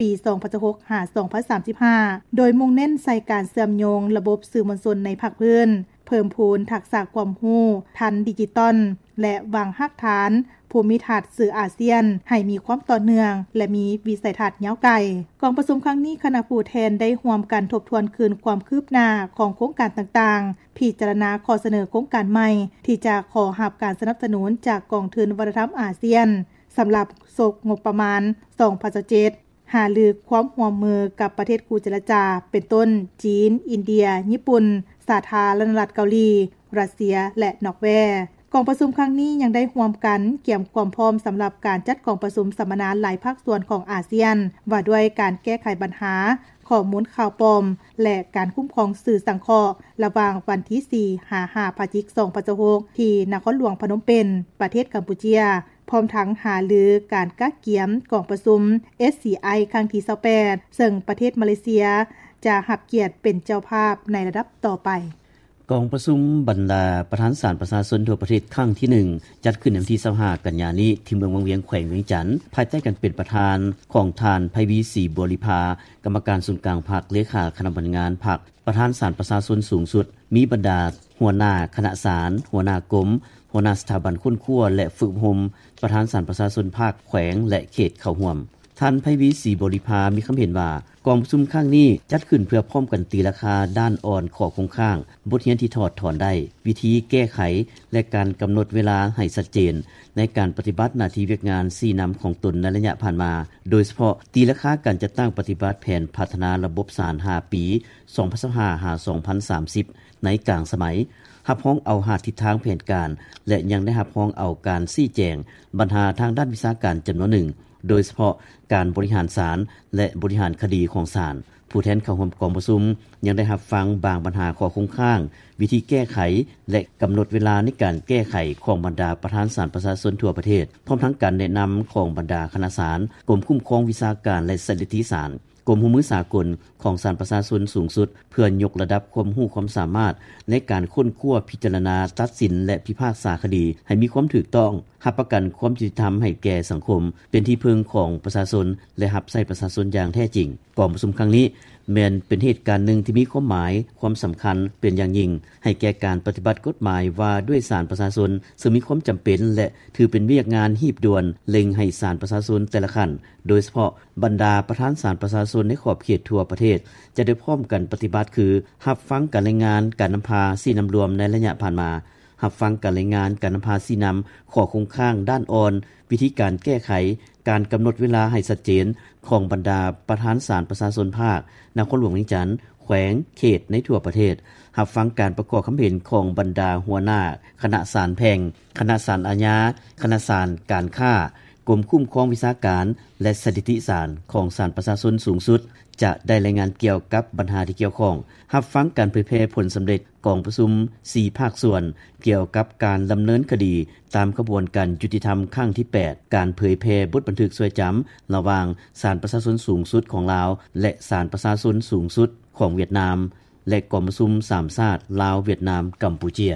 ປີສອງພັນຊາວຫົກ ຫາ ສອງພັນສາມສິບຫ້າ ໂດຍມຸ່ງເນັ້ນໃສ່ການເຊື່ອມໂຍງລະບົບສື່ມວນຊົນໃນພາກພື້ນ, ເພີ່ມພູນທັກສະຄວາມຮູ້ທັນດິຈິຕອນ ແລະ ວາງຮາກຖານພູມິທັດສື່ອາຊຽນໃຫ້ມີຄວາມຕໍ່ເນື່ອງ ແລະ ມີວິໄສທັດຍາວໄກ. ກອງປະຊຸມຄັ້ງນີ້, ຄະນະຜູ້ແທນໄດ້ຮ່ວມກັນທົບທວນຄືນຄວາມຄືບໜ້າຂອງໂຄງການຕ່າງໆ, ພິຈາລະນາຂໍ້ສະເໜີໂຄງການໃໝ່ທີ່ຈະຂໍຮັບການສະໜັບສະໜູນຈາກກອງທຶນວັດທະນະທຳອາຊຽນ ສຳລັບສົກງົບປະມານສອງພັນຊາວເຈັດ, ຫາລືຄວາມຮ່ວມມືກັບປະເທດຄູ່ເຈລະຈາ ເປັນຕົ້ນ ຈີນ, ອິນເດຍ, ຍີ່ປຸ່ນ, ສາທາລະນະລັດເກົາຫຼີ, ຣັດເຊຍ ແລະ ນໍເວ. ກອງປະຊຸມຄັ້ງນີ້ຍັງໄດ້ຮ່ວມກັນກຽມຄວາມພ້ອມສຳລັບການຈັດກອງປະຊຸມສຳມະນາຫຼາຍພາກສ່ວນຂອງອາຊຽນ ວ່າດ້ວຍການແກ້ໄຂບັນຫາຂໍ້ມູນຂ່າວປອມ ແລະ ການຄຸ້ມຄອງສື່ສັງເຄາະ ລະຫວ່າງວັນທີສີ່ ຫາ ຫ້າ ພະຈິກ ສອງພັນຊາວຫົກ ທີ່ນະຄອນຫຼວງພະນົມເປັນ ປະເທດກຳປູເຈຍ, ພ້ອມທັງຫາລືການກະກຽມກອງປະຊຸມ ເອສຊີໄອ ຄັ້ງທີຊາວແປດ ເຊິ່ງປະເທດມາເລເຊຍຈະຮັບກຽດເປັນເຈົ້າພາບໃນລະດັບຕໍ່ໄປ. ກອງປະຊຸມບັນດາປະທານສານປະຊາຊົນທົ່ວປະເທດຄັ້ງທີໜຶ່ງ ຈັດຂຶ້ນໃນວັນທີຊາວຫ້າ ກັນຍານີ້ ທີ່ເມືອງວັງວຽງ ແຂວງວຽງຈັນ, ພາຍໃຕ້ການເປັນປະທານຂອງທ່ານ ໄພວີ ສີບໍລິພາ, ກຳມະການສູນກາງພັກ, ເລຂາຄະນະບັນງານພັກ, ປະທານສານປະຊາຊົນສູງສຸດ, ມີບັນດາຫົວໜ້າຄະນະສານ, ຫົວໜ້າກົມ, ຫົວໜ້າສະຖາບັນຄົ້ນຄວ້າ ແລະ ຝຶກອົບຮົມ, ປະທານສານປະຊາຊົນພາກ, ແຂວງ ແລະ ເຂດເຂົ້າຮ່ວມ. ທ່ານ ໄພວີ ສີບໍລິພາ ມີຄຳເຫັນວ່າ ກອງປະຊຸມຄັ້ງນີ້ຈັດຂຶ້ນເພື່ອພ້ອມກັນຕີລາຄາດ້ານອ່ອນ, ຂໍ້ຄົງຄ້າງ, ບົດຮຽນທີ່ຖອດຖອນໄດ້, ວິທີແກ້ໄຂ ແລະ ການກຳນົດເວລາໃຫ້ຊັດເຈນ ໃນການປະຕິບັດໜ້າທີ່ວຽກງານຊີ້ນຳຂອງຕົນໃນໄລຍະຜ່ານມາ, ໂດຍສະເພາະຕີລາຄາການຈັດຕັ້ງປະຕິບັດແຜນພັດທະນາລະບົບສານຫ້າປີ ສອງພັນຊາວຫ້າ ຫາ ສອງພັນສາມສິບ ໃນກາງສະໄໝ, ຮັບຮອງເອົາຫ້າທິດທາງແຜນການ ແລະ ຍັງໄດ້ຮັບຮອງເອົາການຊີ້ແຈງບັນຫາທາງດ້ານວິຊາການຈຳນວນໜຶ່ງ, ໂດຍສະເພາະການບໍລິຫານສານ ແລະ ບໍລິຫານຄະດີຂອງສານ. ຜູ້ແທນເຂົ້າຮ່ວມກອງປະຊຸມຍັງໄດ້ຮັບຟັງບາງບັນຫາຂໍ້ຄົງຄ້າງ, ວິທີແກ້ໄຂ ແລະ ກຳນົດເວລາໃນການແກ້ໄຂຂອງບັນດາປະທານສານປະຊາຊົນທົ່ວປະເທດ, ພ້ອມທັງການແນະນຳຂອງບັນດາຄະນະສານ, ກົມຄຸ້ມຄອງວິຊາການ ແລະ ສະຖິຕິສານ, ກົມຮ່ວມມືສາກົນຂອງສານປະຊາຊົນສູງສຸດ ເພື່ອຍົກລະດັບຄວາມຮູ້ຄວາມສາມາດໃນການຄົ້ນຄວ້າ, ພິຈາລະນາ, ຕັດສິນ ແລະ ພິພາກສາຄະດີໃຫ້ມີຄວາມຖືກຕ້ອງ, ຮັບປະກັນຄວາມຍຸຕິທຳໃຫ້ແກ່ສັງຄົມ, ເປັນທີ່ເພິ່ງຂອງປະຊາຊົນ ແລະ ຮັບໃຊ້ປະຊາຊົນຢ່າງແທ້ຈິງ. ກອງປະຊຸມຄັ້ງນີ້ແມ່ນເປັນເຫດການໜຶ່ງທີ່ມີຄວາມໝາຍ, ຄວາມສຳຄັນເປັນຢ່າງຍິ່ງ ໃຫ້ແກ່ການປະຕິບັດກົດໝາຍວ່າດ້ວຍສານປະຊາຊົນ, ເຊິ່ງມີຄວາມຈຳເປັນ ແລະ ຖືເປັນວຽກງານຮີບດ່ວນ ເລັ່ງໃຫ້ສານປະຊາຊົນແຕ່ລະຂັ້ນ, ໂດຍສະເພາະບັນດາປະທານສານປະຊາຊົນໃນຂອບເຂດທົ່ວປະເທດ ຈະໄດ້ພ້ອມກັນປະຕິບັດ ຄື ຮັບຟັງການລາຍງານການນຳພາຊີ້ນຳລວມໃນໄລຍະຜ່ານມາ, ຮັບຟັງການລາຍງານການນຳພາຊີ້ນຳຂໍ້ຄົງຄ້າງດ້ານອ່ອນ, ວິທີການແກ້ໄຂ, ການກຳນົດເວລາໃຫ້ຊັດເຈນຂອງບັນດາປະທານສານປະຊາຊົນພາກ, ນະຄອນຫຼວງວຽງຈັນ, ແຂວງ, ເຂດໃນທົ່ວປະເທດ, ຮັບຟັງການປະກອບຄຳເຫັນຂອງບັນດາຫົວໜ້າຄະນະສານແພ່ງ, ຄະນະສານອາຍາ, ຄະນະສານການຄ້າ, ກົມຄຸ້ມຄອງວິຊາການ ແລະ ສະຖິຕິສານຂອງສານປະຊາຊົນສູງສຸດ ຈະໄດ້ລາຍງານກ່ຽວກັບບັນຫາທີ່ກ່ຽວຂ້ອງ, ຮັບຟັງການເຜີຍແຜ່ຜົນສຳເລັດກອງປະຊຸມສີ່ພາກສ່ວນ ກ່ຽວກັບການດຳເນີນຄະດີຕາມຂະບວນການຍຸຕິທຳຄັ້ງທີແປດ, ການເຜີຍແຜ່ບົດບັນທຶກຊ່ວຍຈຳລະຫວ່າງສານປະຊາຊົນສູງສຸດຂອງລາວ ແລະ ສານປະຊາຊົນສູງສຸດຂອງຫວຽດນາມ ແລະ ກອງປະຊຸມສາມຊາດ ລາວ, ຫວຽດນາມ, ກຳປູເຈຍ.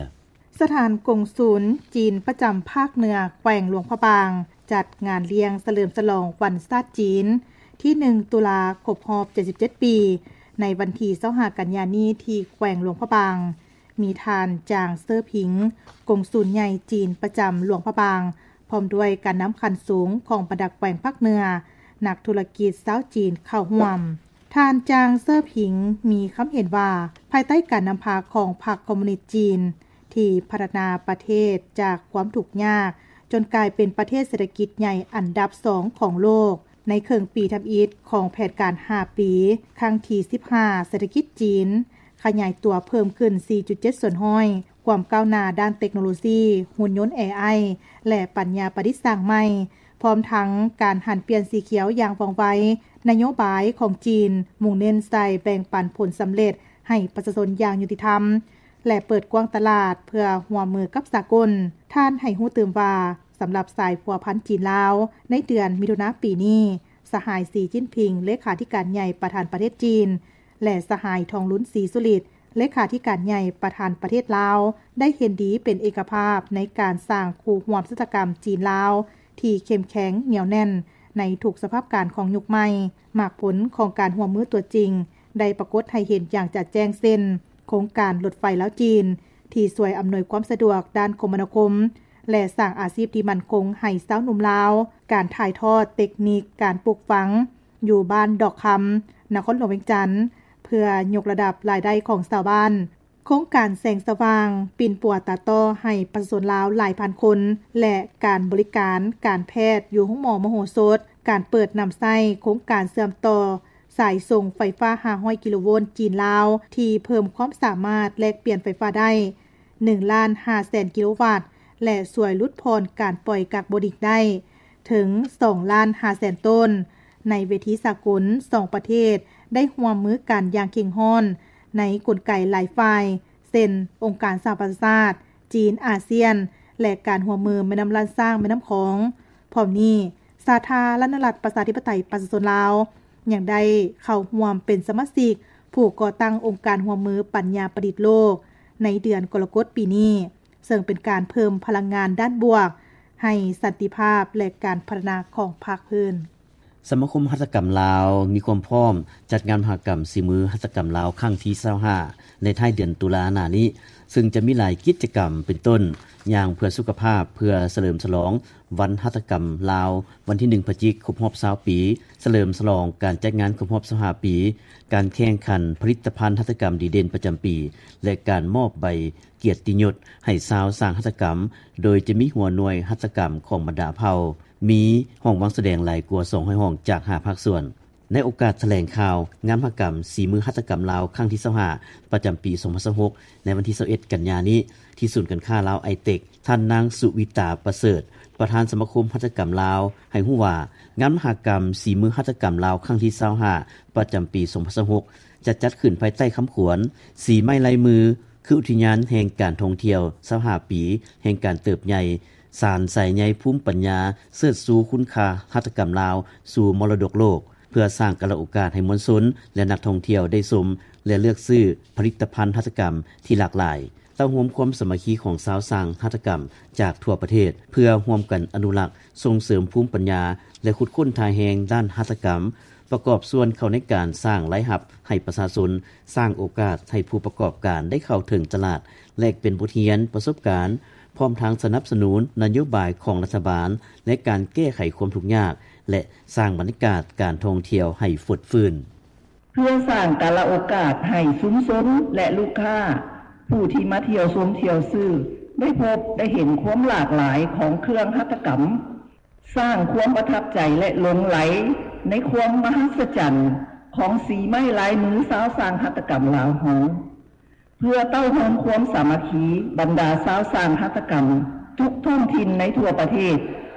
ສະຖານກົງສຸນຈີນປະຈຳພາກເໜືອແຂວງຫຼວງພະບາງ ຈັດງານລ້ຽງສະເຫຼີມສະຫຼອງວັນຊາດຈີນ ທີໜຶ່ງ ຕຸລາ ຄົບຮອບເຈັດສິບເຈັດປີ ໃນວັນທີຊາວຫ້າ ກັນຍານີ້ ທີ່ແຂວງຫຼວງພະບາງ. ມີທ່ານ ຈາງ ເຊີຜິງ ກົງສຸນໃຫຍ່ຈີນປະຈຳຫຼວງພະບາງ ພ້ອມດ້ວຍການນຳຂັ້ນສູງຂອງບັນດາແຂວງພາກເໜືອ, ນັກທຸລະກິດຊາວຈີນເຂົ້າຮ່ວມ. ທ່ານ ຈາງ ເຊີຜິງ ມີຄຳເຫັນວ່າ ພາຍໃຕ້ການນຳພາຂອງພັກຄອມມູນິດຈີນ ທີ່ພັດທະນາປະເທດຈາກຄວາມທຸກຍາກ ຈົນກາຍເປັນປະເທດເສດຖະກິດໃຫຍ່ອັນດັບສອງຂອງໂລກ, ໃນເຄິ່ງປີທຳອິດຂອງແຜນການຫ້າປີ ຄັ້ງທີສິບຫ້າ ເສດຖະກິດຈີນຂະຫຍາຍຕົວເພີ່ມຂຶ້ນ ສີ່ຈຸດເຈັດສ່ວນຮ້ອຍ, ຄວາມກ້າວໜ້າດ້ານເຕັກໂນໂລຊີ, ຫຸ່ນຍົນ ເອໄອ ແລະ ປັນຍາປະດິດສ້າງໃໝ່, ພ້ອມທັງການຫັນປ່ຽນສີຂຽວຢ່າງວ່ອງໄວ. ນະໂຍບາຍຂອງຈີນມຸ່ງເນັ້ນໃສ່ແບ່ງປັນຜົນສຳເລັດໃຫ້ປະຊາຊົນຢ່າງຍຸຕິທຳ ແລະ ເປີດກວ້າງຕະຫຼາດເພື່ອຮ່ວມມືກັບສາກົນ. ທ່ານໃຫ້ຮູ້ຕື່ມວ່າ ສຳລັບສາຍພົວພັນຈີນ-ລາວ, ໃນເດືອນມິຖຸນາປີນີ້, ສະຫາຍ ສີຈິ້ນຜິງ ເລຂາທິການໃຫຍ່ປະທານປະເທດຈີນ ແລະ ສະຫາຍ ທອງລຸນ ສີສຸລິດ ເລຂາທິການໃຫຍ່ປະທານປະເທດລາວ ໄດ້ເຫັນດີເປັນເອກະພາບໃນການສ້າງຄູ່ຮ່ວມຊະຕາກຳຈີນ-ລາວທີ່ເຂັ້ມແຂງໜຽວແໜ້ນ ໃນທຸກສະພາບການຂອງຍຸກໃໝ່. ໝາກຜົນຂອງການຮ່ວມມືຕົວຈິງ ໄດ້ປາກົດໃຫ້ເຫັນຢ່າງຈະແຈ້ງ ເຊັ່ນ ໂຄງການລົດໄຟລາວ-ຈີນ ທີ່ຊ່ວຍອຳນວຍຄວາມສະດວກດ້ານຄົມມະນາຄົມ ແລະ ສ້າງອາຊີບທີ່ໝັ້ນຄົງໃຫ້ຊາວໜຸ່ມລາວ, ການຖ່າຍທອດເຕັກນິກການປູກຝັງຢູ່ບ້ານດອກຄຳ ນະຄອນຫຼວງວຽງຈັນ ເພື່ອຍົກລະດັບລາຍໄດ້ຂອງຊາວບ້ານ. ໂຄງການແສງສະຫວ່າງປິ່ນປົວຕາຕໍ່ໃຫ້ປະຊາຊົນລາວຫຼາຍພັນຄົນ ແລະ ການບໍລິການການແພດຢູ່ໂຮງໝໍມະໂຫສົດ, ການເປີດນຳໃຊ້ໂຄງການເຊື່ອມຕໍ່ສາຍສົ່ງໄຟຟ້າຫ້າຮ້ອຍກິໂລໂວນຈີນ-ລາວ ທີ່ເພີ່ມຄວາມສາມາດແລກປ່ຽນໄຟຟ້າໄດ້ໜຶ່ງລ້ານຫ້າແສນກິໂລວັດ ແລະ ຊ່ວຍຫຼຸດຜ່ອນການປ່ອຍກາກໂບລິກໄດ້ເຖິງສອງລ້ານຫ້າແສນໂຕນ. ໃນເວທີສາກົນ, ສອງປະເທດໄດ້ຮ່ວມມືກັນຢ່າງເຄັ່ງຮ້ອນໃນກົນໄກຫຼາຍຝ່າຍ ເຊັ່ນ ອົງການສະຫະປະຊາຊາດ, ຈີນ, ອາຊຽນ ແລະ ການຮ່ວມມືແມ່ນ້ຳລ້ານຊ້າງ, ແມ່ນ້ຳຂອງ. ພ້ອມນີ້, ສາທາລະນະລັດ ປະຊາທິປະໄຕ ປະຊາຊົນລາວ ຍັງໄດ້ເຂົ້າຮ່ວມເປັນສະມາຊິກຜູ້ກໍ່ຕັ້ງອົງການຮ່ວມມືປັນຍາປະດິດໂລກ ໃນເດືອນກໍລະກົດປີນີ້, ເຊິ່ງເປັນການເພີ່ມພະລັງງານດ້ານບວກໃຫ້ສັນຕິພາບ ແລະ ການພັດທະນາຂອງພາກພື້ນ. ສະມາຄົມຫັດຖະກຳລາວມີຄວາມພ້ອມຈັດງານມະຫະກຳສີມືຫັດຖະກຳລາວຄັ້ງທີຊາວຫ້າ ໃນທ້າຍເດືອນຕຸລາໜ້ານີ້, ເຊິ່ງຈະມີຫຼາຍກິດຈະກຳ ເປັນຕົ້ນ ຍ່າງເພື່ອສຸຂະພາບ ເພື່ອສະເຫຼີມສະຫຼອງວັນຫັດຖະກຳລາວ ວັນທີໜຶ່ງ ພະຈິກ ຄົບຮອບຊາວປີ, ສະເຫຼີມສະຫຼອງການຈັດງານຄົບຮອບຊາວຫ້າປີ, ການແຂ່ງຂັນຜະລິດຕະພັນຫັດຖະກຳດີເດັ່ນປະຈຳປີ ແລະ ການມອບໃບກຽດຕິຍົດໃຫ້ຊາວຊ່າງຫັດຖະກຳ, ໂດຍຈະມີຫົວໜ່ວຍຫັດຖະກຳຂອງບັນດາເຜົ່າ, ມີຫ້ອງວາງສະແດງຫຼາຍກວ່າສອງຮ້ອຍຫ້ອງຈາກຫ້າພາກສ່ວນ. ໃນໂອກາດຖະແຫຼງຂ່າວງານມະຫະກຳສີມືຫັດຖະກຳລາວຄັ້ງທີຊາວຫ້າ ປະຈຳປີສອງພັນຊາວຫົກ ໃນວັນທີຊາວເອັດ ກັນຍານີ້ ທີ່ສູນການຄ້າລາວໄອເຕັກ, ທ່ານນາງ ສຸວິຕາ ປະເສີດ ປະທານສະມາຄົມຫັດຖະກຳລາວ ໃຫ້ຮູ້ວ່າ ງານມະຫະກຳສີມືຫັດຖະກຳລາວຄັ້ງທີຊາວຫ້າ ປະຈຳປີສອງພັນຊາວຫົກ ຈະຈັດຂຶ້ນພາຍໃຕ້ຄຳຂວັນ ສີໄມ້ລາຍມື ຄືອຸທິຍານແຫ່ງການທ່ອງທ່ຽວຊາວຫ້າປີ ແຫ່ງການເຕີບໃຫຍ່ ສານສາຍໃຍພູມປັນຍາ ເຊີດຊູຄຸນຄ່າຫັດຖະກຳລາວສູ່ມໍລະດົກໂລກ, ເພື່ອສ້າງກາລະໂອກາດໃຫ້ມວນຊົນ ແລະ ນັກທ່ອງທ່ຽວໄດ້ຊົມ ແລະ ເລືອກຊື້ຜະລິດຕະພັນຫັດຖະກຳທີ່ຫຼາກຫຼາຍ, ເຕົ້າໂຮມຄວາມສາມັກຄີຂອງຊາວຊ່າງຫັດຖະກຳຈາກທົ່ວປະເທດ ເພື່ອຮ່ວມກັນອະນຸລັກ, ສົ່ງເສີມພູມປັນຍາ ແລະ ຂຸດຄົ້ນທ່າແຮງດ້ານຫັດຖະກຳ, ປະກອບສ່ວນເຂົ້າໃນການສ້າງລາຍຮັບໃຫ້ປະຊາຊົນ, ສ້າງໂອກາດໃຫ້ຜູ້ປະກອບການໄດ້ເຂົ້າເຖິງຕະຫຼາດ, ແລກປ່ຽນບົດຮຽນ, ປະສົບການ, ພ້ອມທັງສະໜັບສະໜູນນະໂຍບາຍຂອງລັດຖະບານ ແລະ ການແກ້ໄຂຄວາມທຸກຍາກ ແລະ ສ້າງບັນຍາກາດການທ່ອງທ່ຽວໃຫ້ຟົດຟື້ນ. ເພື່ອສ້າງກາລະໂອກາດໃຫ້ຊຸມຊົນ ແລະ ລູກຄ້າ ຜູ້ທີ່ມາທ່ຽວຊົມທ່ຽວຊື້ ໄດ້ພົບໄດ້ເຫັນຄວາມຫຼາກຫຼາຍຂອງເຄື່ອງຫັດຖະກຳ, ສ້າງຄວາມປະທັບໃຈ ແລະ ຫຼົງໄຫຼໃນຄວາມມະຫັດສະຈັນຂອງສີໄມ້ລາຍມືຊາວຊ່າງຫັດຖະກຳລາວເຮົາ. ເພື່ອເຕົ້າໂຮມຄວາມສາມັກຄີບັນດາຊາວຊ່າງຫັດຖະກຳທຸກທ້ອງຖິ່ນໃນທົ່ວປະເທດ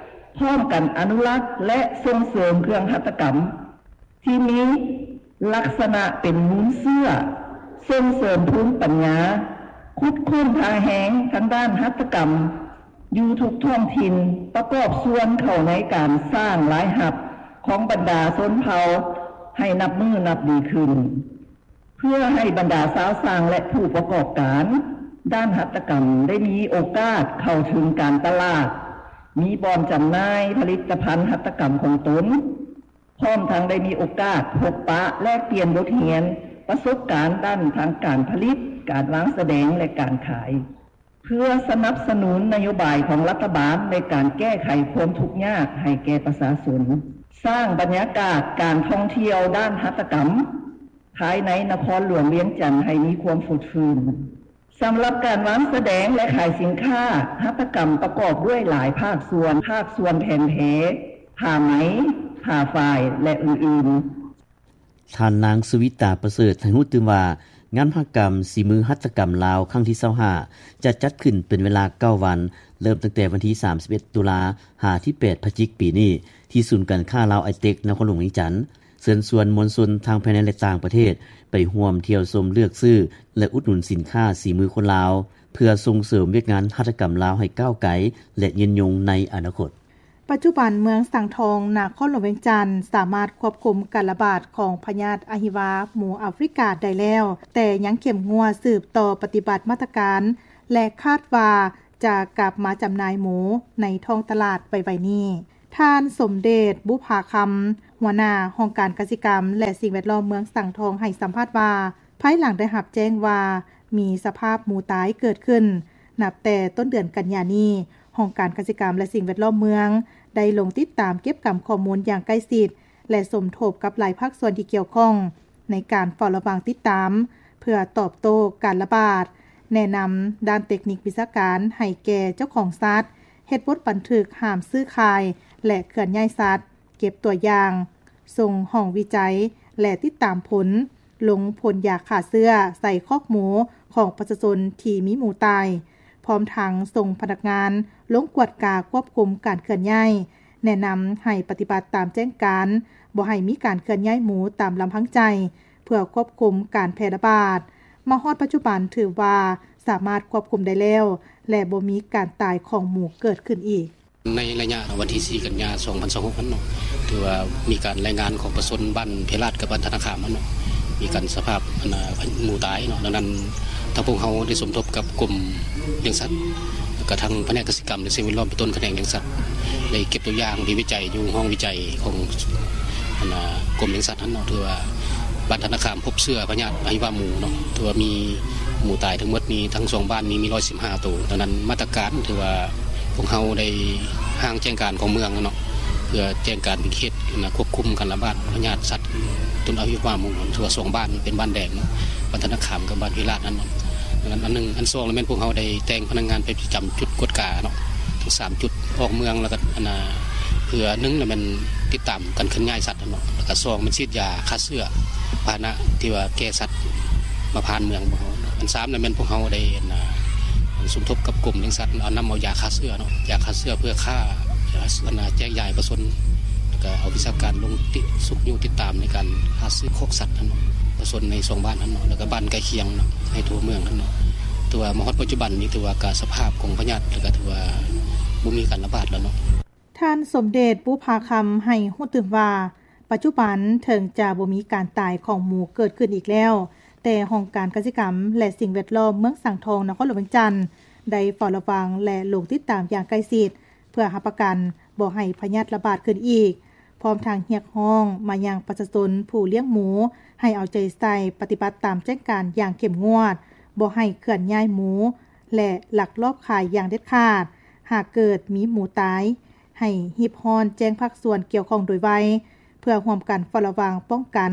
ພ້ອມກັນອະນຸລັກ ແລະ ສົ່ງເສີມເຄື່ອງຫັດຖະກຳ ທີ່ມີລັກສະນະເປັນມູນເຊື້ອ ສົ່ງເສີມພູມປັນຍາ, ຂຸດຄົ້ນທ່າແຮງທາງດ້ານຫັດຖະກຳຢູ່ທຸກທ້ອງຖິ່ນ, ປະກອບສ່ວນເຂົ້າໃນການສ້າງລາຍຮັບຂອງບັນດາຊົນເຜົ່າໃຫ້ນັບມື້ນັບດີຂຶ້ນ, ເພື່ອໃຫ້ບັນດາຊາວຊ່າງ ແລະ ຜູ້ປະກອບການດ້ານຫັດຖະກຳໄດ້ມີໂອກາດເຂົ້າເຖິງການຕະຫຼາດ, ມີບ່ອນຈຳໜ່າຍຜະລິດຕະພັນຫັດຖະກຳຂອງຕົນ, ພ້ອມທັງໄດ້ມີໂອກາດພົບປະແລກປ່ຽນບົດຮຽນ, ປະສົບການດ້ານທາງການຜະລິດ, ການວາງສະແດງ ແລະ ການຂາຍ, ເພື່ອສະໜັບສະໜູນນະໂຍບາຍຂອງລັດຖະບານໃນການແກ້ໄຂຄວາມທຸກຍາກໃຫ້ແກ່ປະຊາຊົນ, ສ້າງບັນຍາກາດການທ່ອງທ່ຽວດ້ານຫັດຖະກຳພາຍໃນນະຄອນຫຼວງວຽງຈັນໃຫ້ມີຄວາມຟົດຟື້ນ. ສຳລັບການວາງສະແດງ ແລະ ຂາຍສິນຄ້າຫັດຖະກຳປະກອບດ້ວຍຫຼາຍພາກສ່ວນ, ພາກສ່ວນແຜ່ນແພ, ຜ້າໄໝ, ຜ້າຝ້າຍ ແລະ ອື່ນໆ. ທ່ານນາງ ສຸວິຕາ ປະເສີດ ໃຫ້ຮູ້ຕື່ມວ່າ ງານມະຫະກຳສີມືຫັດຖະກຳລາວຄັ້ງທີຊາວຫ້າ ຈະຈັດຂຶ້ນເປັນເວລາເກົ້າວັນ, ເລີ່ມຕັ້ງແຕ່ວັນທີສາມສິບເອັດ ຕຸລາ ຫາທີແປດ ພະຈິກ ປີນີ້ ທີ່ສູນການຄ້າລາວໄອເຕັກ ນະຄອນຫຼວງວຽງຈັນ. ເຊີນຊວນມວນຊົນທັງພາຍໃນ ແລະ ຕ່າງປະເທດ ໄປຮ່ວມທ່ຽວຊົມ, ເລືອກຊື້ ແລະ ອຸດໜູນສິນຄ້າສີມືຄົນລາວ ເພື່ອສົ່ງເສີມວຽກງານຫັດຖະກຳລາວໃຫ້ກ້າວໄກ ແລະ ຍືນຍົງໃນອະນາຄົດ. ປັດຈຸບັນເມືອງສັງທອງ ນະຄອນຫຼວງວຽງຈັນ ສາມາດຄວບຄຸມການລະບາດຂອງພະຍາດອະຫິວາໝູອາຟຣິກາໄດ້ແລ້ວ, ແຕ່ຍັງເຂັ້ມງວດສືບຕໍ່ປະຕິບັດມາດຕະການ ແລະ ຄາດວ່າຈະກັບມາຈຳໜ່າຍໝູໃນທ້ອງຕະຫຼາດໄວໆນີ້. ທ່ານ ສົມເດດ ບຸພາຄຳ ຫົວໜ້າຫ້ອງການກະສິກຳ ແລະ ສິ່ງແວດລ້ອມເມືອງສັງທອງ ໃຫ້ສຳພາດວ່າ ພາຍຫຼັງໄດ້ຮັບແຈ້ງວ່າ ມີສະພາບໝູຕາຍເກີດຂຶ້ນ ນັບແຕ່ຕົ້ນເດືອນກັນຍານີ້, ຫ້ອງການກະສິກຳ ແລະ ສິ່ງແວດລ້ອມເມືອງ ໄດ້ລົງຕິດຕາມເກັບກຳຂໍ້ມູນຢ່າງໃກ້ຊິດ ແລະ ສົມທົບກັບຫຼາຍພາກສ່ວນທີ່ກ່ຽວຂ້ອງ ໃນການເຝົ້າລະວັງຕິດຕາມ ເພື່ອຕອບໂຕ້ການລະບາດ, ແນະນຳດ້ານເຕັກນິກວິຊາການໃຫ້ແກ່ເຈົ້າຂອງສັດ, ເຮັດບົດບັນທຶກຫ້າມຊື້ຂາຍ ແລະ ເຄື່ອນຍ້າຍສັດ, ເກັບຕົວຢ່າງ, ສົ່ງຫ້ອງວິໄຈ ແລະ ຕິດຕາມຜົນ, ລົງພົ່ນຢາຂ້າເຊື້ອໃສ່ຄອກໝູຂອງປະຊາຊົນທີ່ມີໝູຕາຍ, ພ້ອມທັງສົ່ງພະນັກງານລົງກວດກາຄວບຄຸມການເຄື່ອນຍ້າຍ, ແນະນຳໃຫ້ປະຕິບັດຕາມແຈ້ງການ, ບໍ່ໃຫ້ມີການເຄື່ອນຍ້າຍໝູຕາມລຳພັງໃຈ ເພື່ອຄວບຄຸມການແຜ່ລະບາດ. ມາຮອດປັດຈຸບັນຖືວ່າສາມາດຄວບຄຸມໄດ້ແລ້ວ ແລະ ບໍ່ມີການຕາຍຂອງໝູເກີດຂຶ້ນອີກ. ໃນໄລຍະວັນທີສີ່ ກັນຍາ ສອງພັນຊາວຫົກ ນັ້ນເນາະ ຖືວ່າມີການລາຍງານຂອງປະຊາຊົນບ້ານເພລາດກັບບ້ານທະນາຄາມເນາະ ມີການສະພາບ ອັນນ່າ ໝູຕາຍເນາະ. ດັ່ງນັ້ນ ທາງພວກເຮົາໄດ້ສົມທົບກັບກົມລ້ຽງສັດ ແລ້ວກະທາງພະແນກກະສິກຳ ແລະ ສິ່ງແວດລ້ອມ ເປັນຕົ້ນພະແນກລ້ຽງສັດ ໄດ້ເກັບຕົວຢ່າງທີ່ວິໄຈຢູ່ຫ້ອງວິໄຈຂອງ ອັນນ່າ ກົມລ້ຽງສັດຫັ້ນເນາະ ຖືວ່າບ້ານທະນາຄາມພົບເຊື້ອພະຍາດອະຫິວາໝູເນາະ ຖືວ່າມີໝູຕາຍທັງໝົດນີ້ ທັງສອງບ້ານນີ້ມີ ຮ້ອຍສິບຫ້າ ໂຕ. ດັ່ງນັ້ນ ມາດຕະການຖືວ່າພວກເຮົາໄດ້ຮ່າງແຈ້ງການຂອງເມືອງເນາະ ເພື່ອແຈ້ງການເປັນເຂດ ອັນນ່າ ຄວບຄຸມການລະບາດພະຍາດສັດຕົ້ນອະຫິວາໝູ ຖືວ່າສອງບ້ານເປັນບ້ານແດງເນາະ ບ້ານທະນາຄາມກັບບ້ານເພລາດຫັ້ນເນາະ. ອັນນັ້ນອັນໜຶ່ງ. ອັນສອງລະແມ່ນພວກເຮົາໄດ້ແຕ່ງພະນັກງານໄປປະຈຳຈຸດກວດກາເນາະ ທັງສາມຈຸດ ອອກເມືອງ ແລ້ວກໍ ອັນນ່າ ເພື່ອໜຶ່ງລະແມ່ນຕິດຕາມການເຄື່ອນຍ້າຍສັດຫັ້ນເນາະ ແລ້ວກໍສອງແມ່ນສີດຢາຂ້າເຊື້ອພາຫະນະທີ່ວ່າແກ່ສັດມາຜ່ານເມືອງພວກເຮົາ. ອັນສາມລະແມ່ນພວກເຮົາໄດ້ ອັນນ່າ ສົມທົບກັບກົມລ້ຽງສັດ ເອົານຳເອົາຢາຂ້າເຊື້ອເນາະ ຢາຂ້າເຊື້ອເພື່ອຂ້າ ອັນນ່າ ແຈກຢາຍປະຊາຊົນ ແລ້ວກໍເອົາວິຊາການລົງຕິ ຊຸກຍູ້ຕິດຕາມໃນການຫາຊື້ຄອກສັດຫັ້ນເນາະ ປະຊາຊົນໃນສອງບ້ານຫັ້ນເນາະ ແລ້ວກໍບ້ານໃກ້ຄຽງເນາະ ໃນທົ່ວເມືອງຫັ້ນເນາະ. ແຕ່ວ່າມາຮອດປັດຈຸບັນນີ້ ຖືວ່າກະສະພາບຂອງພະຍາດ ແລ້ວກະຖືວ່າບໍ່ມີການລະບາດແລ້ວເນາະ. ທ່ານ ສົມເດດ ບຸພາຄຳ ໃຫ້ຮູ້ຕື່ມວ່າ ປັດຈຸບັນເຖິງຈະບໍ່ມີການຕາຍຂອງໝູເກີດຂຶ້ນອີກແລ້ວ, ແຕ່ຫ້ອງການກະສິກຳ ແລະ ສິ່ງແວດລ້ອມເມືອງສັງທອງ ນະຄອນຫຼວງວຽງຈັນ ໄດ້ເຝົ້າລະວັງ ແລະ ລົງຕິດຕາມຢ່າງໃກ້ຊິດ ເພື່ອຮັບປະກັນບໍ່ໃຫ້ພະຍາດລະບາດຂຶ້ນອີກ, ພ້ອມທັງຮຽກຮ້ອງມາຍັງປະຊາຊົນຜູ້ລ້ຽງໝູ ໃຫ້ເອົາໃຈໃສ່ປະຕິບັດຕາມແຈ້ງການຢ່າງເຂັ້ມງວດ, ບໍ່ໃຫ້ເຄື່ອນຍ້າຍໝູ ແລະ ລັກລອບຂາຍຢ່າງເດັດຂາດ. ຫາກເກີດມີໝູຕາຍ, ໃຫ້ຮີບຮ້ອນແຈ້ງພາກສ່ວນກ່ຽວຂ້ອງໂດຍໄວ ເພື່ອຮ່ວມກັນເຝົ້າລະວັງ, ປ້ອງກັນ,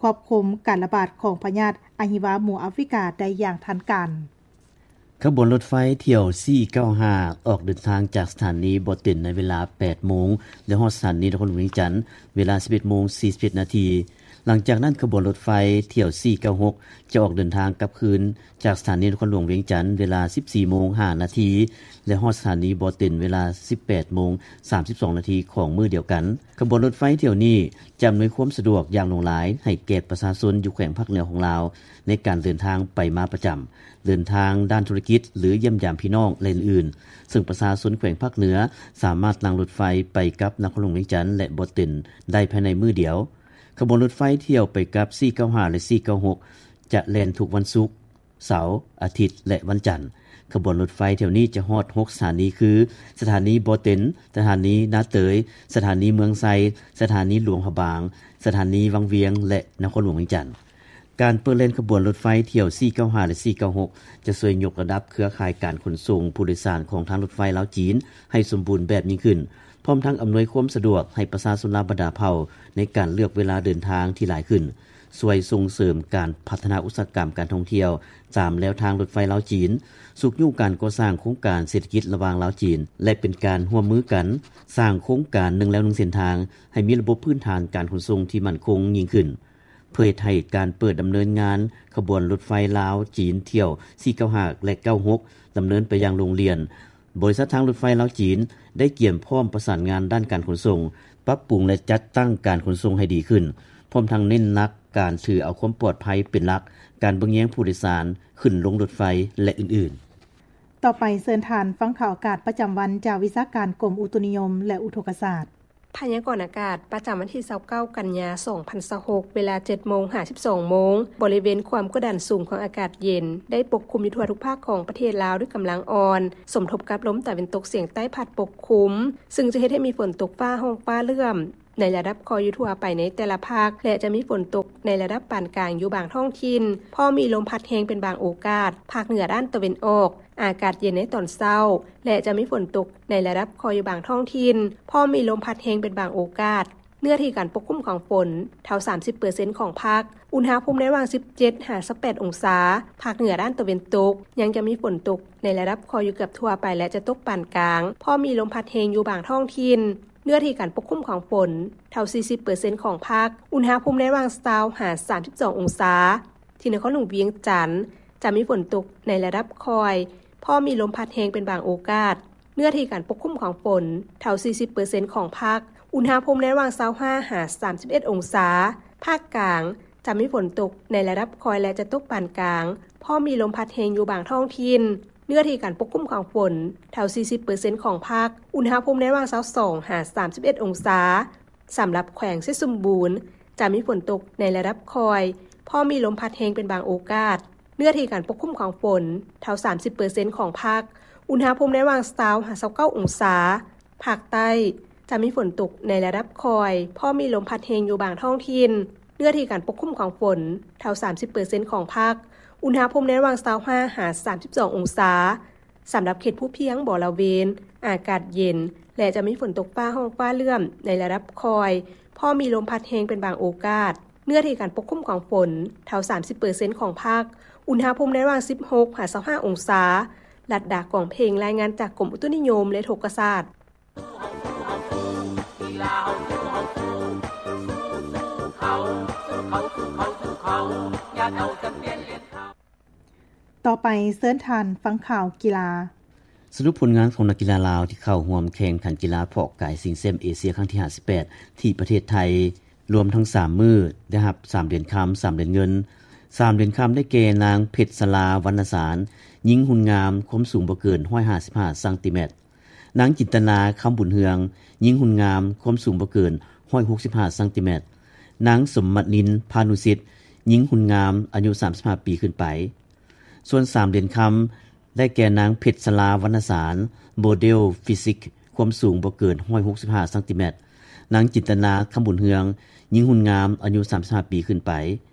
ຄວບຄຸມການລະບາດຂອງພະຍາດອະຫິວາໝູອາຟຣິກາໄດ້ຢ່າງທັນການ. ຂະບວນລົດໄຟຖ້ຽວສີ່ເກົ້າຫ້າ ອອກເດີນທາງຈາກສະຖານີບໍ່ເຕັນໃນເວລາແປດໂມງ ແລະ ຮອດສະຖານີນະຄອນຫຼວງວຽງຈັນເວລາສິບເອັດໂມງສີ່ສິບເອັດນາທີ. ຫຼັງຈາກນັ້ນ ຂະບວນລົດໄຟຖ້ຽວສີ່ເກົ້າຫົກ ຈະອອກເດີນທາງກັບຄືນຈາກສະຖານີນະຄອນຫຼວງວຽງຈັນເວລາສິບສີ່ໂມງຫ້ານາທີ ແລະ ຮອດສະຖານີບໍ່ເຕັນເວລາສິບແປດໂມງສາມສິບສອງນາທີຂອງມື້ດຽວກັນ. ຂະບວນລົດໄຟຖ້ຽວນີ້ຈະອຳນວຍຄວາມສະດວກຢ່າງຫຼວງຫຼາຍໃຫ້ແກ່ປະຊາຊົນຢູ່ແຂວງພາກເໜືອຂອງລາວ ໃນການເດີນທາງໄປມາປະຈຳ, ເດີນທາງດ້ານທຸລະກິດ ຫຼື ຢ້ຽມຢາມພີ່ນ້ອງ ແລະ ອື່ນໆ, ເຊິ່ງປະຊາຊົນແຂວງພາກເໜືອສາມາດນັ່ງລົດໄຟໄປກັບນະຄອນຫຼວງວຽງຈັນ ແລະ ບໍ່ເຕັນໄດ້ພາຍໃນມື້ດຽວ. ຂະບວນລົດໄຟຖ້ຽວໄປກັບສີ່ເກົ້າຫ້າ ແລະ ສີ່ເກົ້າຫົກ ຈະແລ່ນທຸກວັນສຸກ, ເສົາ, ອາທິດ ແລະ ວັນຈັນ. ຂະບວນລົດໄຟຖ້ຽວນີ້ຈະຮອດຫົກສະຖານີຄື ສະຖານີບໍ່ເຕັນ, ສະຖານີນາເຕີຍ, ສະຖານີເມືອງໄຊ, ສະຖານີຫຼວງພະບາງ, ສະຖານີວັງວຽງ ແລະ ນະຄອນຫຼວງວຽງຈັນ. ການເປີດແລ່ນຂະບວນລົດໄຟຖ້ຽວສີ່ເກົ້າຫ້າ ແລະ ສີ່ເກົ້າຫົກ ຈະຊ່ວຍຍົກລະດັບເຄືອຂ່າຍການຂົນສົ່ງຜູ້ໂດຍສານຂອງທາງລົດໄຟລາວ-ຈີນໃຫ້ສົມບູນແບບຍິ່ງຂຶ້ນ, ພ້ອມທັງອຳນວຍຄວາມສະດວກໃຫ້ປະຊາຊົນລາວບັນດາເຜົ່າໃນການເລືອກເວລາເດີນທາງທີ່ຫຼາຍຂຶ້ນ, ຊ່ວຍສົ່ງເສີມການພັດທະນາອຸດສາຫະກຳການທ່ອງທ່ຽວຕາມແລວທາງລົດໄຟລາວ-ຈີນ, ຊຸກຍູ້ການກໍ່ສ້າງໂຄງການເສດຖະກິດລະຫວ່າງລາວ-ຈີນ ແລະ ເປັນການຮ່ວມມືກັນສ້າງໂຄງການໜຶ່ງແລວໜຶ່ງເສັ້ນທາງ ໃຫ້ມີລະບົບພື້ນຖານການຂົນສົ່ງທີ່ໝັ້ນຄົງຍິ່ງຂຶ້ນ. ເພື່ອເຮັດໃຫ້ການເປີດດຳເນີນງານຂະບວນລົດໄຟລາວ-ຈີນຖ້ຽວສີ່ເກົ້າຫ້າ ແລະ ເກົ້າຫົກ ດຳເນີນໄປຢ່າງໂລ່ງລ່ຽນ, ບໍລິສັດທາງລົດໄຟລາວ-ຈີນ ໄດ້ກຽມພ້ອມປະສານງານດ້ານການຂົນສົ່ງ, ປັບປຸງ ແລະ ຈັດຕັ້ງການຂົນສົ່ງໃຫ້ດີຂຶ້ນ, ພ້ອມທັງເນັ້ນໜັກການຖືເອົາຄວາມປອດໄພເປັນຫຼັກ, ການເບິ່ງແຍງຜູ້ໂດຍສານ, ຂຶ້ນລົງລົດໄຟ ແລະ ອື່ນໆ. ຕໍ່ໄປເຊີນທ່ານຟັງຂ່າວອາກາດປະຈຳວັນຈາກວິຊາການກົມອຸຕຸນິຍົມ ແລະ ອຸທົກກະສາດ. ພະຍາກອນອາກາດ ປະຈຳວັນທີຊາວເກົ້າ ກັນຍາ ສອງພັນຊາວຫົກ ເວລາ ເຈັດໂມງຫາ ສິບສອງໂມງ, ບໍລິເວນຄວາມກົດດັນສູງຂອງອາກາດເຢັນ ໄດ້ປົກຄຸມຢູ່ທົ່ວທຸກພາກຂອງປະເທດລາວດ້ວຍກຳລັງອ່ອນ, ສົມທົບກັບລົມຕາເວັນຕົກສຽງໃຕ້ພັດປົກຄຸມ, ຊຶ່ງຈະເຮັດໃຫ້ມີຝົນຕົກຟ້າຮ້ອງຟ້າເຫຼື້ອມ ໃນລະດັບຄ່ອຍຢູ່ທົ່ວໄປໃນແຕ່ລະພາກ ແລະ ຈະມີຝົນຕົກໃນລະດັບປານກາງຢູ່ບາງທ້ອງຖິ່ນ, ພ້ອມມີລົມພັດແຮງເປັນບາງໂອກາດ. ພາກເໜືອດ້ານຕາເວັນອອກ, ອາກາດເຢັນໃນຕອນເຊົ້າ ແລະ ຈະມີຝົນຕົກໃນລະດັບຄ່ອຍຢູ່ບາງທ້ອງຖິ່ນ, ພ້ອມມີລົມພັດແຮງເປັນບາງໂອກາດ. ເນື້ອທີ່ການປົກຄຸມຂອງຝົນ ເທົ່າ ສາມສິບເປີເຊັນຂອງພາກ, ອຸນຫະພູມໃນລະຫວ່າງ ສິບເຈັດຫາ ຊາວແປດອົງສາ. ພາກເໜືອດ້ານຕາເວັນຕົກ ຍັງຈະມີຝົນຕົກໃນລະດັບຄ່ອຍຢູ່ເກືອບທົ່ວໄປ ແລະ ຈະຕົກປານກາງ, ພ້ອມມີລົມພັດແຮງຢູ່ບາງທ້ອງຖິ່ນ. ເນື້ອທີ່ການປົກຄຸມຂອງຝົນ ເທົ່າ ສີ່ສິບເປີເຊັນຂອງພາກ, ອຸນຫະພູມໃນລະຫວ່າງ ຊາວຫາ ສາມສິບສອງອົງສາ. ທີ່ນະຄອນຫຼວງວຽງຈັນ ຈະມີຝົນຕົກໃນລະດັບຄ່ອຍ, ພ້ອມມີລົມພັດແຮງເປັນບາງໂອກາດ. ເນື້ອທີ່ການປົກຄຸມຂອງຝົນ ເທົ່າ ສີ່ສິບເປີເຊັນຂອງພາກ, ອຸນຫະພູມໃນລະຫວ່າງ ຊາວຫ້າຫາ ສາມສິບເອັດອົງສາ. ພາກກາງ ຈະມີຝົນຕົກໃນລະດັບຄ່ອຍ ແລະ ຈະຕົກປານກາງ, ພ້ອມມີລົມພັດແຮງຢູ່ບາງທ້ອງຖິ່ນ. ເນື້ອທີ່ການປົກຄຸມຂອງຝົນ ເທົ່າ ສີ່ສິບເປີເຊັນຂອງພາກ, ອຸນຫະພູມໃນລະຫວ່າງ ຊາວສອງຫາ ສາມສິບເອັດອົງສາ. ສຳລັບແຂວງໄຊສົມບູນ ຈະມີຝົນຕົກໃນລະດັບຄ່ອຍ, ພ້ອມມີລົມພັດແຮງເປັນບາງໂອກາດ. ເນື້ອທີ່ການປົກຄຸມຂອງຝົນ ເທົ່າ ສາມສິບເປີເຊັນຂອງພາກ, ອຸນຫະພູມໃນລະຫວ່າງ ຊາວຫາ ຊາວເກົ້າອົງສາ. ພາກໃຕ້ ຈະມີຝົນຕົກໃນລະດັບຄ່ອຍ, ພ້ອມມີລົມພັດແຮງຢູ່ບາງທ້ອງຖິ່ນ. ເນື້ອທີ່ການປົກຄຸມຂອງຝົນ ເທົ່າ ສາມສິບເປີເຊັນຂອງພາກ, ອຸນຫະພູມໃນລະຫວ່າງ ຊາວຫ້າຫາ ສາມສິບສອງອົງສາ. ສຳລັບເຂດພູພຽງບໍລະເວນ ອາກາດເຢັນ ແລະ ຈະມີຝົນຕົກຟ້າຮ້ອງຟ້າເຫຼື້ອມໃນລະດັບຄ່ອຍ, ພໍມີລົມພັດແຮງເປັນບາງໂອກາດ. ເນື້ອທີ່ການປົກຄຸມຂອງຝົນ ເທົ່າ ສາມສິບເປີເຊັນຂອງພາກ, ອຸນຫະພູມໃນລະຫວ່າງ ສິບຫົກຫາ ຊາວຫ້າອົງສາ. ລັດດາ ກອງເພັງ ລາຍງານຈາກກົມອຸຕຸນິຍົມ ແລະ ອຸທົກກະສາດ. ຕໍ່ໄປເຊີນທ່ານຟັງຂ່າວກິລາ. ສະຫຼຸບຜົນງານຂອງນັກກິລາລາວທີ່ເຂົ້າຮ່ວມແຂ່ງຂັນກິລາເພາະກາຍຊິງແຊັມເອເຊຍຄັ້ງທີຫ້າສິບແປດ ທີ່ປະເທດໄທ, ລວມທັງສາມມື້ ໄດ້ຮັບສາມຫຼຽນຄຳ, ສາມຫຼຽນເງິນ. ສາມຫຼຽນຄຳໄດ້ແກ່ ນາງ ເພັດສະລາ ວັນນະສານ, ຍິງຮຸ່ນງາມ, ຄວາມສູງບໍ່ເກີນ ຮ້ອຍຫ້າສິບຫ້າຊັງຕີແມັດ. ນາງ ຈິນຕະນາ ຄຳບຸນເຮືອງ, ຍິງຮຸ່ນງາມ, ຄວາມສູງບໍ່ເກີນ ຮ້ອຍຫົກສິບຫ້າຊັງຕີແມັດ. ນາງ ສົມມະນິນ ພານຸສິດ, ຍິງຮຸ່ນງາມ, ອາຍຸ ສາມສິບຫ້າປີຂຶ້ນໄປ. ສ່ວນສາມຫຼຽນຄຳ ໄດ້ແກ່ ນາງ ເພັດສະລາ ວັນນະສານ, ໂມເດວຟີຊິກ, ຄວາມສູງບໍ່ເກີນ ຮ້ອຍຫົກສິບຫ້າຊັງຕີແມັດ. ນາງ ຈິນຕະນາ ຄຳບຸນເຮືອງ, ຍິງຮຸ່ນງາມ, ອາຍຸ ສາມສິບຫ້າປີຂຶ້ນໄປ.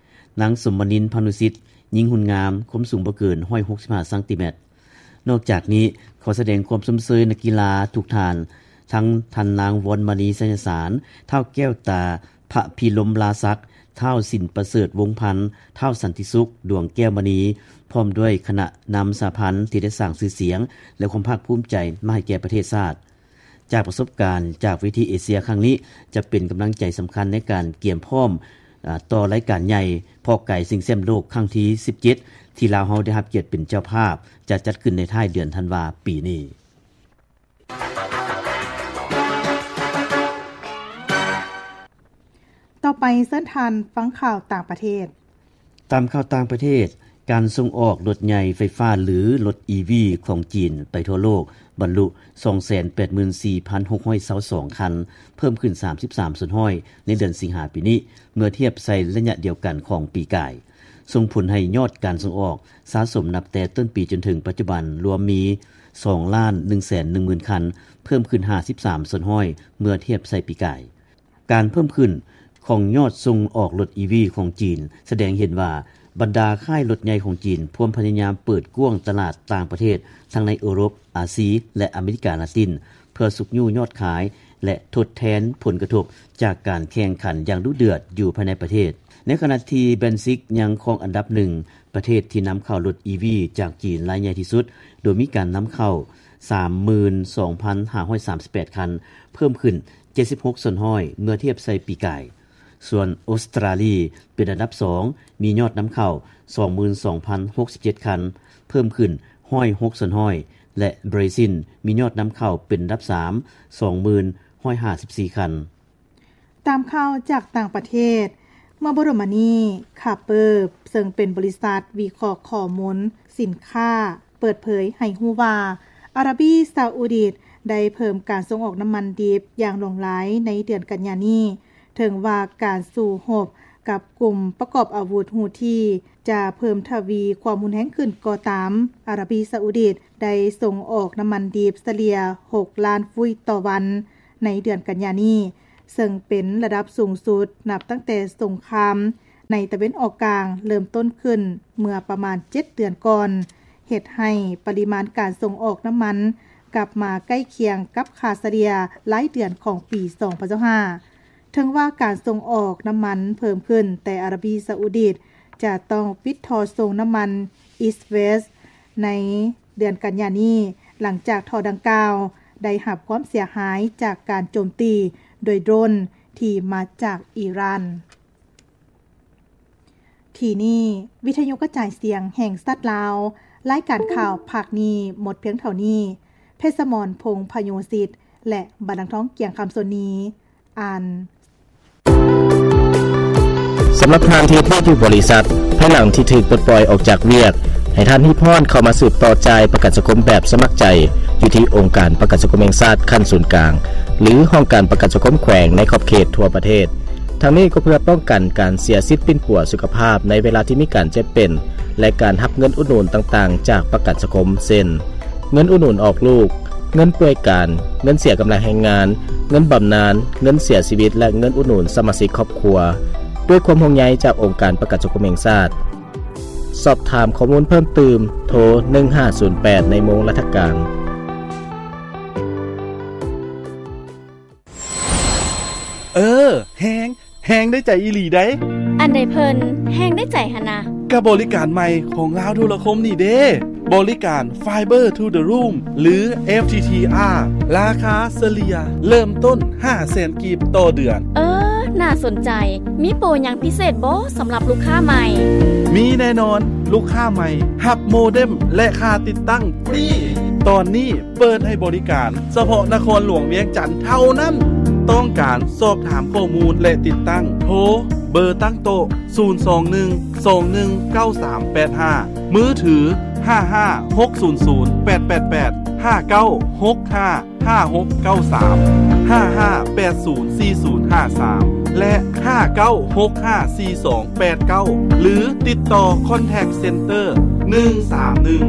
ນາງ ສົມມະນິນ ພານຸສິດ, ຍິງຮຸ່ນງາມ, ຄວາມສູງບໍ່ເກີນ ຮ້ອຍຫົກສິບຫ້າຊັງຕີແມັດ. ນອກຈາກນີ້, ຂໍສະແດງຄວາມຊົມເຊີຍນັກກິລາທຸກທ່ານ, ທັງທ່ານນາງ ວອນມະນີ ໄຊຍະສານ, ທ້າວ ແກ້ວຕາ ພະພິລົມລາສັກ, ທ້າວ ສິນປະເສີດ ວົງພັນ, ທ້າວ ສັນຕິສຸກ ດວງແກ້ວມະນີ, ພ້ອມດ້ວຍຄະນະນຳສະຫະພັນທີ່ໄດ້ສ້າງຊື່ສຽງ ແລະ ຄວາມພາກພູມໃຈມາໃຫ້ແກ່ປະເທດຊາດ. ຈາກປະສົບການຈາກເວທີເອເຊຍຄັ້ງນີ້ ຈະເປັນກຳລັງໃຈສຳຄັນໃນການກຽມພ້ອມ, ອາ, ຕໍ່ລາຍການໃຫຍ່ເພາະກາຍຊິງແຊັມໂລກຄັ້ງທີສິບເຈັດ ທີ່ລາວເຮົາໄດ້ຮັບກຽດເປັນເຈົ້າພາບ, ຈະຈັດຂຶ້ນໃນທ້າຍເດືອນທັນວາປີນີ້. ຕໍ່ໄປເຊີນທ່ານຟັງຂ່າວຕ່າງປະເທດ. ຕາມຂ່າວຕ່າງປະເທດ, ການສົ່ງອອກລົດໃຫຍ່ໄຟຟ້າ ຫຼື ລົດ ອີ ວີ ຂອງຈີນໄປທົ່ວໂລກ ບັນລຸ ສອງແສນແປດໝື່ນສີ່ພັນຫົກຮ້ອຍຊາວສອງຄັນ, ເພີ່ມຂຶ້ນ ສາມສິບສາມສ່ວນຮ້ອຍ ໃນເດືອນສິງຫາປີນີ້ ເມື່ອທຽບໃສ່ໄລຍະດຽວກັນຂອງປີກາຍ. ສົ່ງຜົນໃຫ້ຍອດການສົ່ງອອກສະສົມນັບແຕ່ຕົ້ນປີຈົນເຖິງປັດຈຸບັນລວມມີ ສອງລ້ານໜຶ່ງແສນໜຶ່ງໝື່ນຄັນ, ເພີ່ມຂຶ້ນ ຫ້າສິບສາມສ່ວນຮ້ອຍ ເມື່ອທຽບໃສ່ປີກາຍ. ການເພີ່ມຂຶ້ນຂອງຍອດສົ່ງອອກລົດ ອີ ວີ ຂອງຈີນ ສະແດງເຫັນວ່າ ບັນດາຄ້າຍລົດໃຫຍ່ຂອງຈີນພວມພະຍາຍາມເປີດກວ້າງຕະຫຼາດຕ່າງປະເທດ ທັງໃນເອີຣົບ, ອາຊີ ແລະ ອາເມລິກາລາຕິນ ເພື່ອຊຸກຍູ້ຍອດຂາຍ ແລະ ທົດແທນຜົນກະທົບຈາກການແຂ່ງຂັນຢ່າງດຸເດືອດຢູ່ພາຍໃນປະເທດ. ໃນຂະນະທີ່ ແບຣນຊິກ ຍັງຄອງອັນດັບໜຶ່ງ ປະເທດທີ່ນຳເຂົ້າລົດ ອີ ວີ ຈາກຈີນລາຍໃຫຍ່ທີ່ສຸດ, ໂດຍມີການນຳເຂົ້າ ສາມໝື່ນສອງພັນຫ້າຮ້ອຍສາມສິບແປດຄັນ, ເພີ່ມຂຶ້ນ ເຈັດສິບຫົກສ່ວນຮ້ອຍ ເມື່ອທຽບໃສ່ປີກາຍ. ສ່ວນອົດສະຕຣາລີເປັນອັນດັບສອງ, ມີຍອດນຳເຂົ້າ ສອງໝື່ນສອງພັນຫົກສິບເຈັດຄັນ, ເພີ່ມຂຶ້ນ ຮ້ອຍຫົກສ່ວນຮ້ອຍ ແລະ ບຣາຊິນ ມີຍອດນຳເຂົ້າເປັນອັນດັບສາມ, ສອງໝື່ນຮ້ອຍຫ້າສິບສີ່ຄັນ. ຕາມຂ່າວຈາກຕ່າງປະເທດ, ເມື່ອບໍ່ດົນມານີ້ ຄາເປີ ເຊິ່ງເປັນບໍລິສັດວິເຄາະຂໍ້ມູນສິນຄ້າ ເປີດເຜີຍໃຫ້ຮູ້ວ່າ ອາຣາບີຊາອູດີ ໄດ້ເພີ່ມການສົ່ງອອກນ້ຳມັນດິບຢ່າງຫຼວງຫຼາຍໃນເດືອນກັນຍານີ້. ເຖິງວ່າການສູ້ຮົບກັບກຸ່ມປະກອບອາວຸດຮູ້ທີຈະເພີ່ມທະວີຄວາມຮຸນແຮງຂຶ້ນກໍຕາມ, ອາຣາບີຊາອຸດິດໄດ້ສົ່ງອອກນ້ຳມັນດິບສະເລ່ຍຫົກລ້ານຟຸຍຕໍ່ວັນໃນເດືອນກັນຍານີ້, ເຊິ່ງເປັນລະດັບສູງສຸດນັບຕັ້ງແຕ່ສົງຄາມໃນຕາເວັນອອກກາງເລີ່ມຕົ້ນຂຶ້ນເມື່ອປະມານເຈັດເດືອນກ່ອນ, ເຮັດໃຫ້ປະລິມານການສົ່ງອອກນ້ຳມັນກັບມາໃກ້ຄຽງກັບຄ່າສະເລ່ຍລາຍເດືອນຂອງປີສອງພັນຊາວຫ້າ. ເຖິງວ່າການສົ່ງອອກນ້ຳມັນເພີ່ມຂຶ້ນ, ແຕ່ອາຣາບີຊາອຸດິດຈະຕ້ອງປິດທໍ່ສົ່ງນ້ຳມັນ East West ໃນເດືອນກັນຍານີ້, ຫຼັງຈາກທໍ່ດັ່ງກ່າວໄດ້ຮັບຄວາມເສຍຫາຍຈາກການໂຈມຕີໂດຍໂດຣນທີ່ມາຈາກອີຣານ. ທີ່ນີ້ ວິທະຍຸກະຈາຍສຽງແຫ່ງຊາດລາວ, ລາຍການຂ່າວພາກນີ້ໝົດພຽງເທົ່ານີ້. ເພັດສະໝອນ ພົງພະໂຍສິດ ແລະ ບັນລັງທອງ ກຽງຄຳ ສ່ວນນີ້ ອ່ານ. ສຳລັບທ່ານທີ່ເຮັດວຽກຢູ່ບໍລິສັດ, ພາຍຫຼັງທີ່ຖືກປົດປ່ອຍອອກຈາກວຽກ, ໃຫ້ທ່ານຮີບຮ້ອນເຂົ້າມາສືບຕໍ່ຈ່າຍປະກັນສັງຄົມແບບສະໝັກໃຈ ຢູ່ທີ່ອົງການປະກັນສັງຄົມແຫ່ງຊາດຂັ້ນສູນກາງ ຫຼື ຫ້ອງການປະກັນສັງຄົມແຂວງໃນຂອບເຂດທົ່ວປະເທດ. ທັງນີ້ກໍເພື່ອປ້ອງກັນການເສຍສິດປິ່ນປົວສຸຂະພາບໃນເວລາທີ່ມີການເຈັບເປັນ ແລະ ການຮັບເງິນອຸດໜູນຕ່າງໆຈາກປະກັນສັງຄົມ ເຊັ່ນ ເງິນອຸດໜູນອອກລູກ, ເງິນປ່ວຍການ, ເງິນເສຍກຳລັງແຮງງານ, ເງິນບຳນານ, ເງິນເສຍຊີວິດ ແລະ ເງິນອຸດໜູນສະມາຊິກຄອບຄົວ. ດ້ວຍຄວາມຫ່ວງໃຍຈາກອົງການປະກັນສັງຄົມແຫ່ງຊາດ. ສອບຖາມຂໍ້ມູນເພີ່ມຕື່ມ, ໂທ ໜຶ່ງຫ້າສູນແປດ ໃນໂມງລັດຖະການ. ເອີ ແຮງ ແຮງໄດ້ໃຈອີ່ຫຼີໃດ໋. ອັນໃດເພິ່ນແຮງໄດ້ໃຈຫັ້ນນະ? ກະບໍລິການໃໝ່ຂອງລາວໂທລະຄົມນີ້ເດ້ ບໍລິການ Fiber to the Room ຫຼື FTTR ລາຄາສະເລ່ຍເລີ່ມຕົ້ນຫ້າແສນກີບຕໍ່ເດືອນ. ເອີ ໜ້າສົນໃຈ. ມີໂປຫຍັງພິເສດບໍ່ສຳລັບລູກຄ້າໃໝ່? ມີແນ່ນອນ, ລູກຄ້າໃໝ່ຮັບໂມເດັມ ແລະ ຄ່າຕິດຕັ້ງຟຣີ. ຕອນນີ້ ເປີດໃຫ້ບໍລິການສະເພາະນະຄອນຫຼວງວຽງຈັນເທົ່ານັ້ນ. ຕ້ອງການສອບຖາມຂໍ້ມູນ ແລະ ຕິດຕັ້ງ, ໂທເບີຕັ້ງໂຕະ ສູນສອງໜຶ່ງ ສອງໜຶ່ງ ເກົ້າສາມແປດຫ້າ, ມືຖື ຫ້າຫ້າຫົກສູນສູນແປດແປດແປດ ຫ້າເກົ້າຫົກຫ້າ ຫ້າຫົກເກົ້າສາມ, ຫ້າຫ້າແປດສູນສີ່ສູນຫ້າສາມ ແລະ ຫ້າເກົ້າຫົກຫ້າສີ່ສອງ ແປດເກົ້າ ຫຼື ຕິດຕໍ່ Contact Center ໜຶ່ງສາມໜຶ່ງ.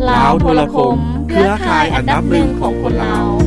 ລາວໂທລະຄົມ ເຄືອຂ່າຍອັນດັບໜຶ່ງຂອງຄົນລາວ.